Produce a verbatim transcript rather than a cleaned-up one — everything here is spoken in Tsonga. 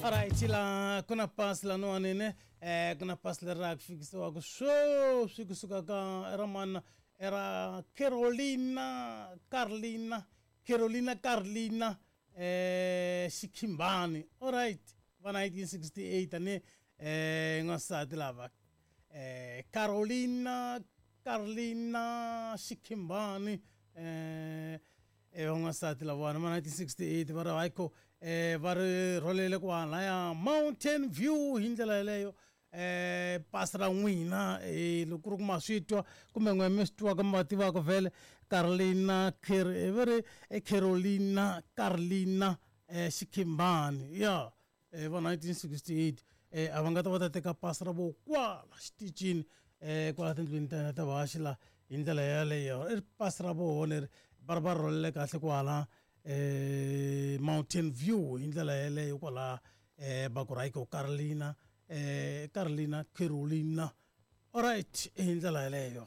Alright, la ku na pasi laniwani ne eh ku na pasi leri ra ku fikisiwaka sweswi kusuka ka era mana era Carolina Carlina Carolina Carlina eh Xikhimbani. Alright, va nineteen sixty-eight ni eh n'wansati lava eh Carolina Carlina Xikhimbani eh eh van'wansati lavawani va nineteen sixty-eight va ri hayiko eh va ri rholele kwalaya Mountain View hi ndlela yeleyo eh pasi ra n'wina eh loko ku ri ku ma swi twa kumbe n'we mi swi twaka mi va tivaka vhele Carlina Car va ri Carolina Carlina eh Xikhimbani ya eh va nineteen sixty-eight eh a va nga ta va ta teka pasi ra vo kwala xitichini eh kwala tindlwini ta hina ta vahaxi la hi ndlela yeleyo i pasi ra voho leri va ri va rholele kahle kwala eh Mountain View hi ndlela yeleyo kwala eh va ku right Carlina eh Carlina Carolina. Alright, hi ndlela yeleyo.